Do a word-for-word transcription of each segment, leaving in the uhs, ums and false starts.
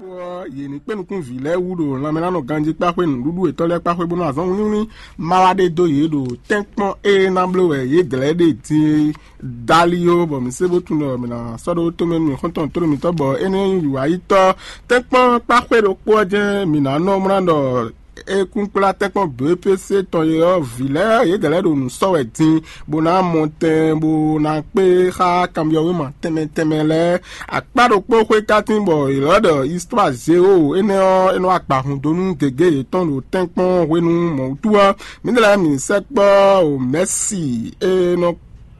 Ɔ́, yě ní kpé nukún vǐ lɛ́ɛ wú ɖo lanmɛlánɔ ganjí kpáxwé nǔɖuɖu yětɔn lɛ́ɛ kpáxwé bó ná azɔn wínníwínní ma wá ɖe dó yě ɖo tɛ́nkpɔ́n e ná bló wɛ yě dlɛ̌ ɖe din é. Dalio bɔ mǐ se bó tunwun ɖɔ mǐ ná sɔ́ ɖó tomɛ nú mǐ xɔ́ntɔn tlóló mǐtɔn bɔ énɛ́ nyí wǎyítɔ́ tɛ́nkpɔ́n kpáxwé ɖokpó ɔ́ jɛ́n mǐ ná nɔ mlá ɖɔ é kún kplá tɛ́nkpɔ́n B P C tɔn e ɔ́, vǐ lɛ́ɛ yědɛɛ lɛ́ɛ ɖo nǔ sɔ́ wɛ din, bó ná mɔ tɛn, bó ná kpé xá kanbyɔ́wéma tɛnmɛ tɛnmɛ lɛ́ɛ. Akpá ɖokpó xwé ka tín bɔ è lɔ̌ ɖɔ Histoire Géo énɛ́ ɔ́, é nɔ wa gbǎhún dó nú gěgé yětɔn ɖo tɛ́nkpɔ́n hwenu mɔ̌ wútu ɔ́, mǐdɛɛ lɛ́ɛ mǐ sɛkpɔ́ o Mɛ̌si e nɔ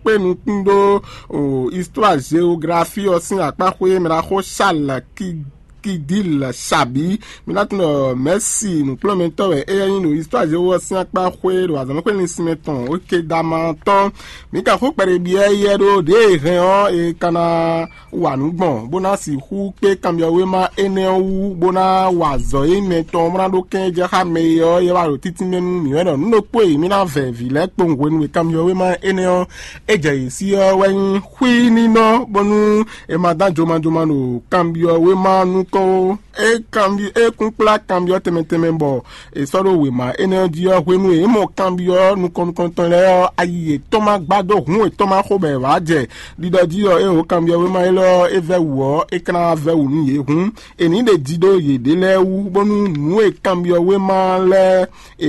kpé nukún ɖó o Histoire Géographie ɔ́ sín akpá xwé mɛ ɖaxó Charles Kidil Xabi. Mi ná tunwun ɖɔ Mɛ̌si nǔkplɔ́nmɛtɔ́ wɛ éyɛ́ nyí ɖo Histoire Géo ɔ́ sín akpá xwé ɖo azɔ̌mɛxwé linsinmɛ tɔn Okedama tɔn. Mi ka xó kpɛɖé byɔ́ éyɛ́ ɖó ɖěe hɛn ɔ́, è ka ná wa nǔ gbɔn, bó ná sixú kpé kanbyɔ́wéma énɛ́ ɔ́ wú, bó ná wa azɔ̌ e mɛ tɔn bó ná ɖó kɛ́n jɛ xá mɛ e ɔ́, é wá ɖo títínmɛ nú mǐ wɛ ɖɔ nǔ ɖokpó e mǐ ná vɛ vǐ lɛ́ɛ kpowun hwenu e kanbyɔ́wéma énɛ́ ɔ́ é jɛ yě sí ɔ́ wɛ nyí xwíninɔ, bónú è ma dán jomajoma ɖo kanbyɔ́wéma nukɔn ó. É kanbyɔ́ é kún kplá kanbyɔ́ tɛnmɛ tɛnmɛ bɔ è sɔ́ ɖó wěma énɛ́ ɔ́ jí ɔ́, hwenu e é mɔ kanbyɔ́ nukɔn nukɔntɔn lɛ́ɛ ɔ́, ayi yětɔn ma gbá dó hǔn yětɔn ma xo bɔ è wǎ jɛ ɖiɖɔ jí ɔ́, é ho kanbyɔ́wéma élɔ́ ɔ́, é vɛ́ wǔ ɔ́, é ka ná vɛ́ wǔ nú yě. Hǔn è nǐ ɖe ji ɖó yěɖée lɛ́ɛ wú, bónú nǔ e kanbyɔ́wéma lɛ́ɛ e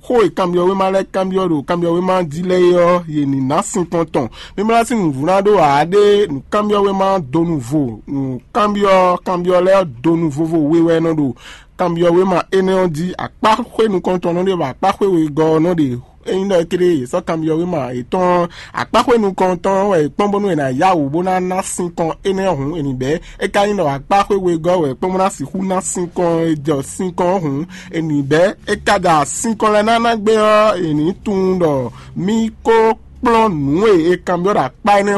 xó e kanbyɔ́wéma lɛ́ɛ kanbyɔ́ ɖo kanbyɔ́wéma jí lɛ́ɛ é ɔ́, yě ní ná sinkɔn tɔn. Mímlá sín nǔvúná ɖó ǎ ɖé nǔkanbyɔ́wéma donu vo, nǔkanbyɔ́ kanbyɔ́ lɛ́ɛ donu vovo we wɛ nɔ ɖo kanbyɔ́wéma énɛ́ ɔ́ jí. Akpáxwé nukɔntɔn nɔ ɖe bɔ akpáxwé wegɔ́ ɔ́ nɔ ɖe. Ényí ɖɔ ékéré yě sɔ́ kanbyɔ́wéma yětɔn akpáxwé nukɔntɔn wɛ è kpɔ́n bónú è nǎ yá wǔ bó ná ná sinkɔn énɛ́ hǔn è nǐ bɛ́. É ka nyí ɖɔ akpáxwé wegɔ́ wɛ è kpɔ́n bó ná sixú ná sinkɔn e jɔ sinkɔn ɔ́ hǔn è nǐ bɛ́. É ka ɖo sinkɔn lɛ́ɛ ná ná gbé ɔ́, è nǐ tunwun ɖɔ mí kó kplɔ́n nǔ e è kanbyɔ́ ɖo akpá énɛ́